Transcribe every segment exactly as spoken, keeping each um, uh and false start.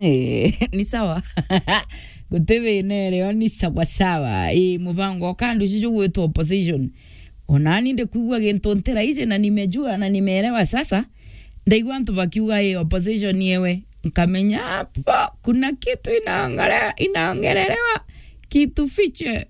Eh, ni sawa. Guti thina irio, ni sawa sawa. Ii, mubango wa kandu ici jugwitwa opposition. Onani ndikwigua gintu ntira iji na nimejua na nimeelewa sasa. Ndaigua antu bakiuga, "Ii, opposition yewe." Nkamenya, "Hapo kuna kitu inaongele-, inaongelelewa, kitu fiche."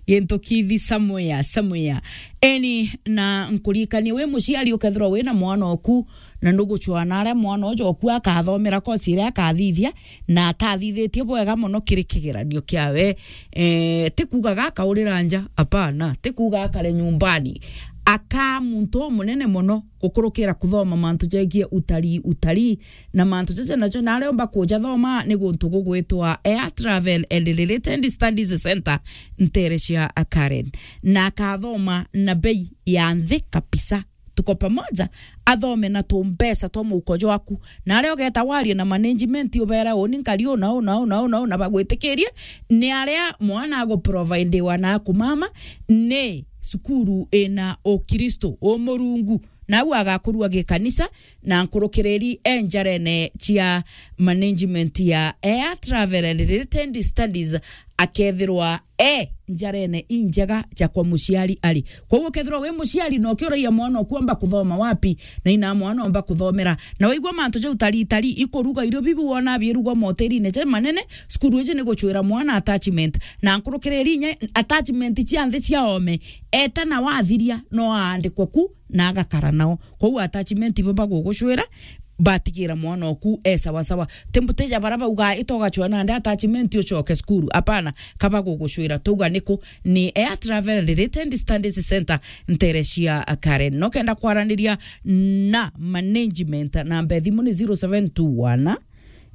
Gintu kithi somewhere, somewhere. Eni, na nkuririkanie wi muciari ukethirwa wina mwana oku, na nugucwaa na aria mwana uju oku akathomera kosi iria akathithia, na atathithitie bwega mono kiri kigeranio kiawe. Eh, ti kuuga gakaurira nja, apana, ti kuuga akare nyumbani. Akaa muntu umunene mono gukurukira kuthoma mantu jegie utalii, utalii, na mantu jaja najo naria umba kuja thoma ni guntu gugwitwa Air Travel and Related Studies Center ntere cia Karen, na akathoma na bei ya nthi kabisa. Tuko pamoja, athome na tumbeca twa muhuko jwaku. Na aria ugeta warie na management, ubere, "Uni nkari una, una, una, una, una," bagwitikirie, ni aria mwana aguprovidiwa na akumama, ni cukuru ina Ukristo, umurungu, na au agakurua gikanisa, na nkurukiriri e njarene cia management ya Air Travel and Related Studies, akethirwa e njarene injega ja kwa muciari ari. Koguo ukethirwa wi muciari na ukiuragia mwana oku amba kuthoma wapi, na ina mwana omba kuthomera, na waigua mantu jau tari tari ikuruga irio bibi wona biirugwa moterine ja manene, cukuru iji ni gucwira mwana attachment, na nkurukiriri inya attachment cia nthi cia ome, eta na wathiria no aandikwe ku na agakara nao. Kwou attachment ibo bagugucwira, batigira mwana oku e sawa sawa. Ti mbuteja bara bauga, "Ita ugacwa nandi attachment ucoke cukuru." Apana, ka bagugucwira. Tauga niku? Ni Air Travel and Related Studies Center ntere cia Karen. No kenda kwaraniria na management, namba ya thimu ni zero seven two one,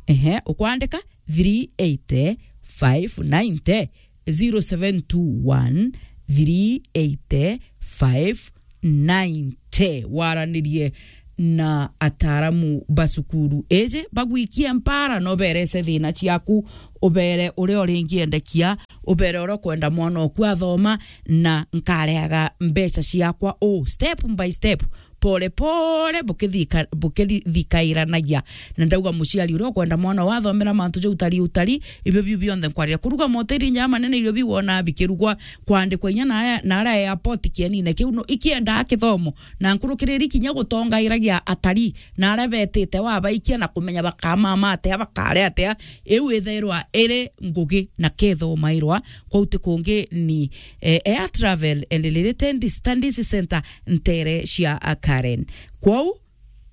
ehe, ukwandika three eighty five ninety, zero seven two one three eighty five ninety. Waranirie na ataaramu ba cukuru iji, bagwikie mpara, na uberece thina ciaku, ubere uria uringiendekia, ubere uria ukwenda mwana oku athoma, na nkareaga mbeca ciakwa uu step by step, pole pole, bukithika-, bukithikairanagia. Na ndauga muciari uria ukwenda mwana wathomera mantu ja utari, utari, ibio biu bionthe nkwarira. Kuruga moteri inya manene, irio biu wona bikirugwa, kwandikwa inya na aya, na aria airport kienine kiu, no ikiendaa kithomo. Na nkurukiriri kinya gutongairagia atari, na aria betite wabaikia na kumenya bakamama atia, bakare atia, iu ithairwa iri ngugi na kethomairwa kwou ti kungi ni, eh, Air Travel and Related Studies Center ntere cia Karen. Kwou,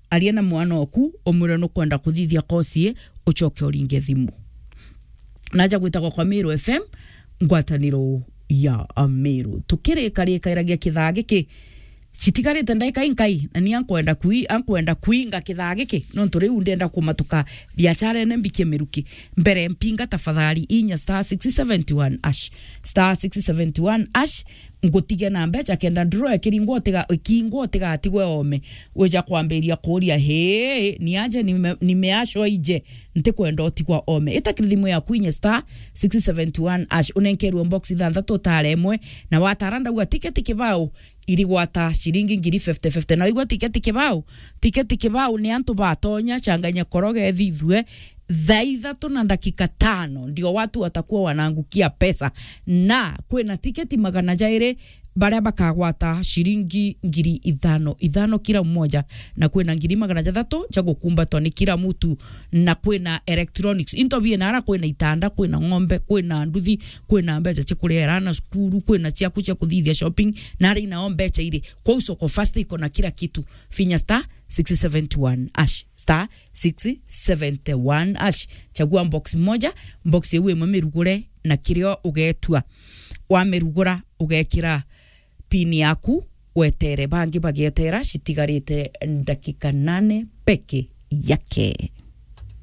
aria na mwana oku, umwire nukwenda kuthithia kosi ii, ucoke uringe thimu. Naja gwitagwa kwa Meru F M, ngwataniro ya Meru. Tukirikarikairagia kithaa giki, citigarite ndaika inkai, na ni ankwenda kui-, ankwenda kuinga kithaa giki, nontu riu ndenda kumatuka biacharene mbikie miruki. Mbere mpinga tafadhali inya star six seventy one hash. Star six seventy one hash, ngutige na mbecha kenda draw ikiringwa utiga-, ikingwa utigatigwe ome. Wija kwambiria kuria, "Hii, ni aje nime-, nimeashwa ije, ntikwenda utigwa ome." Ita kiri thimu yaku inya star six seventy one hash, unenkerwe box ithanthatu utare imwe, na watara ndauga tiketi kibao, irigwata ciringi ngiri fifty fifty. Na waigua tiketi kibao, tiketi kibao ni antu batonya changanya koroge thithue thaa ithatu na ndakika tano, ndio watu watakuwa wanaangukia pesa. Na kwina tiketi magana jairi baria bakagwata ciringi ngiri ithano ithano kila mmoja, na kwina ngiri magana jathatu ja gukumbatwa ni kila mtu, na kwina electronics into biina ara, kwina itanda, kwina ng'ombe, kwina nduthi, kwina mbecha cia kuriera ana cukuru, kwina ciaku cia kuthithia shopping, na ari nao mbecha iri. Kwou Soko Fast iko na kila kitu. Finya star six seventy one hash, star six seventy one hash. Chagua box moja, box iu imwe mirugure na kirio ugetua. Wamirugura, ugekira pin yaku, wetere. Bangi bagietera, citigarite ndakika nane peke yake.